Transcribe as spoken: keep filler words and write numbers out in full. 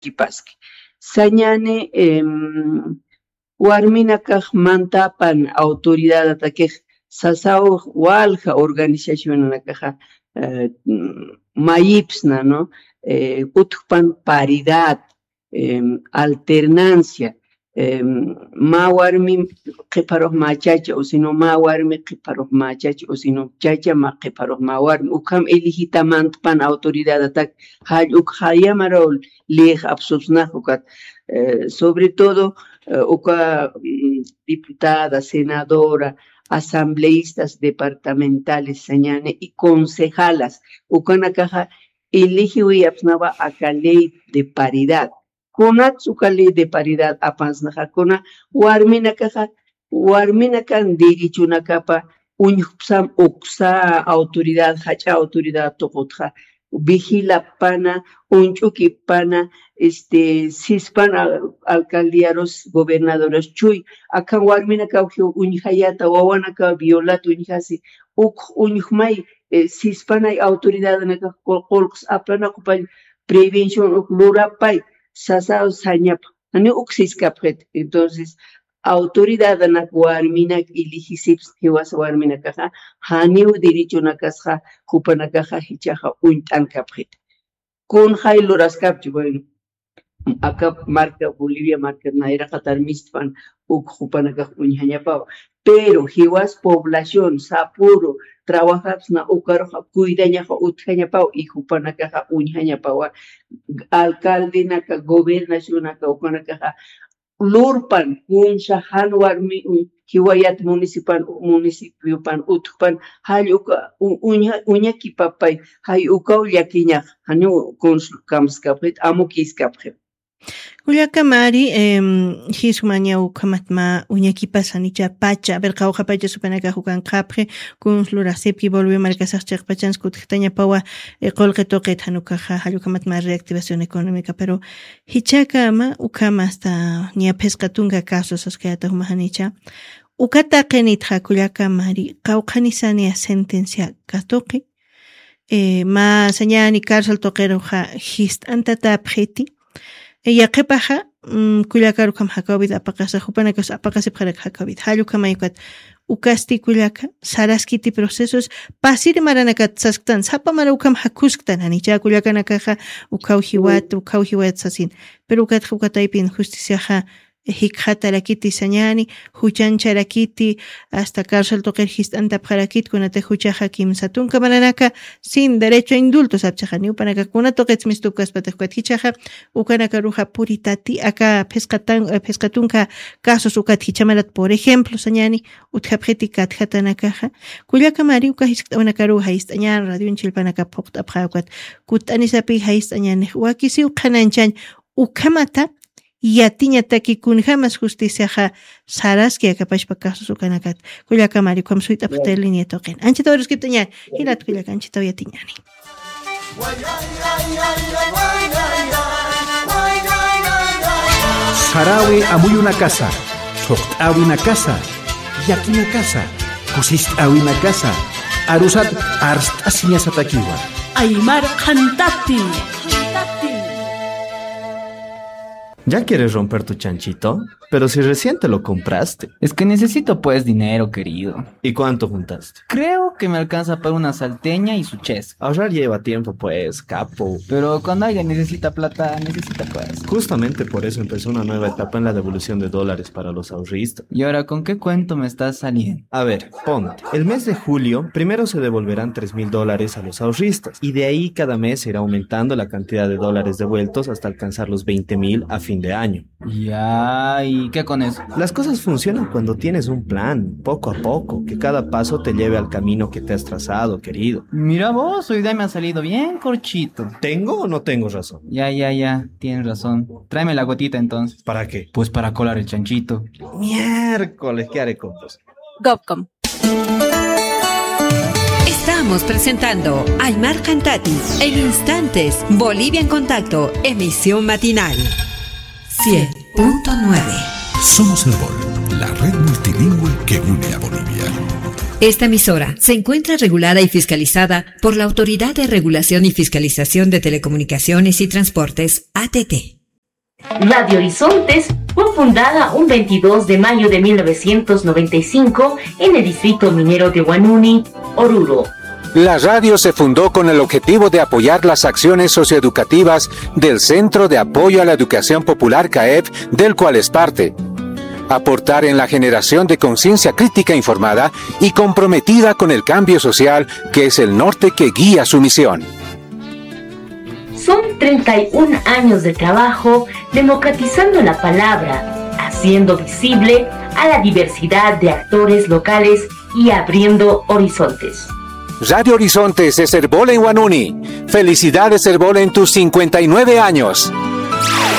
llakipaski. Sañani, em, warminakax mantapan autoridadataki sasaw walja organizacionanakaxa, eh, mayipsna, ¿no? Eh, utjpan paridad, em, alternancia, em, mä warmi qhiparux mä chacha, o sino mä warmi qhiparux mä chacha, o sino chacha mä qhiparux mä warmi, ukham elegita mantpan autoridadatak, jall uk jayamaraw lix apsupsnax ukat, eh, sobre todo, eh, uka, mm, diputada, senadora, asambleístas departamentales sañani y concejalas, ukanakaxa elegiwi apsnawa aka ley de paridad. Kunats uka ley de paridad apansnaxa, kuna warminakaxa, warminakan derechonakapa uñjpsam uksa autoridad, jach'a autoridad tuqutxa, vigilapana, uñch'ukipana, este, sispan al-, alcaldiarus, gobernadoras chuy, akan warminakaw jiw uñjayata, wawanakaw violat uñjasi, uk uñjmay, eh, sispanay autoridadanakax qul-, qulqs aplanakupay prevención uk lurapay, sasaw sañap, jani uk siskapxit. Entonces, autoridadanak warminak elegisips jiwas warminakaxa, janiw derechonakasxa, jupanakaxa jichhaxa uñt'ankapxit. Kunjay luraskapchi, bueno, aka marka, Bolivia marka nayraqatar mistpan uk jupanakax uñjañapaw. Pero jiwas población, sapüru, trabajapsna ukaruxa cuidañaxa utjañapaw y jupanakaxa uñjañapawa. Alcaldenaka, gobernacionaka, ukanakaxa lurpan, kunsa jan warmi, u-, jiwayat municipan-, municipiopan utjpan, jall uka, u-, uña-, uñakipapay, jay ukaw llakiñax, janiw kunsa kamskapxit, amukiskapxit. Kullaka Mari, em, jismaña ukhamat mä uñakipas janicha pacha, a ver, qawqha pacha supanakax ukanqapxi, kuns lurasipki Bolivia markasax chiqpachans kutjktañapawa, eh, qullqi tuqit jan ukaxa, jall ukhamat mä reactivación económica, pero jichhakama ukham hasta niya phisqa tunka casos askayata juma janicha. Uka taqinitxa kullaka Mari, qawqhanisaniya sentencia katuqi, eh, mä sañani cárcel tuqiruxa jist'antatapxiti. Eh, yaqhipaxa, mm, kullakaru ukham jakawit apaqasa, jupanakas apaqasipxarak jakawit. Jall ukhamay ukat, ukasti kullaka, saraskiti procesos, pasiri maranakat sasktan, sapa mara ukham jakusktan, janicha kullakanakaxa, ukhaw jiwat, ukhaw jiwat sasin. Pero ukatxa, uka taypin justiciaxa, jikxatarakiti sañani, juchancharakiti, hasta cárcel tuqir jist'antapxarakit, kunatix juchaxa kimsa tunka maranaka, sin derecho a indulto sapchaxa, niw panaka kuna tuqits mistupkaspatix ukat jichhaxa, ukanakaruxa puritati, aka phisqa tan-, eh, phisqa tunka casos ukat jichha marat, por ejemplo, sañani, utjapxiti katjatanakaxa, kullaka Mari uka jiskt'awanakaruxa jist'añan, radion chillpanaka phuqt'apxa ukat, kutt'anisapi jist'añanix, wakisiw qhanañchañ, ukhamata, yatiñataki kunjamas justiciaxa saraski akapashpa casos ukanakat. Kullaka Mari, ukham suyt'apxta línea tuqin. Anchitaw aruskiptaña, jilat kullaka, anchitaw yatiñani. Sarawi amuyunakasa, thuqt'awinakasa, yakinakasa, kusist'awinakasa, arusat arst'asiñasatakiwa. Aymar qhantati. ¿Ya quieres romper tu chanchito? Pero si recién te lo compraste. Es que necesito, pues, dinero, querido. ¿Y cuánto juntaste? Creo que me alcanza para una salteña y su chesca. Ahorrar lleva tiempo, pues, capo. Pero cuando alguien necesita plata, necesita, pues. Justamente por eso empezó una nueva etapa en la devolución de dólares para los ahorristas. ¿Y ahora con qué cuento me estás saliendo? A ver, ponte. El mes de julio, primero se devolverán tres mil dólares a los ahorristas, y de ahí cada mes se irá aumentando la cantidad de dólares devueltos hasta alcanzar los veinte mil a fin de año. Ya, ¿y qué con eso? Las cosas funcionan cuando tienes un plan, poco a poco, que cada paso te lleve al camino que te has trazado, querido. Mira vos, hoy día me ha salido bien corchito. ¿Tengo o no tengo razón? Ya, ya, ya, tienes razón. Tráeme la gotita entonces. ¿Para qué? Pues para colar el chanchito. Miércoles, ¿qué haré con vos? Gov com. Estamos presentando Aymar Qhantati en instantes, Bolivia en Contacto, emisión matinal. Cien punto nueve. Somos Erbol, la red multilingüe que une a Bolivia. Esta emisora se encuentra regulada y fiscalizada por la Autoridad de Regulación y Fiscalización de Telecomunicaciones y Transportes, A T T. Radio Horizontes fue fundada un veintidós de mayo de mil novecientos noventa y cinco en el distrito minero de Huanuni, Oruro. La radio se fundó con el objetivo de apoyar las acciones socioeducativas del Centro de Apoyo a la Educación Popular, caef, del cual es parte. Aportar en la generación de conciencia crítica informada y comprometida con el cambio social, que es el norte que guía su misión. Son treinta y un años de trabajo democratizando la palabra, haciendo visible a la diversidad de actores locales y abriendo horizontes. Radio Horizontes es Erbol en Huanuni. Felicidades, Erbol, en tus cincuenta y nueve años.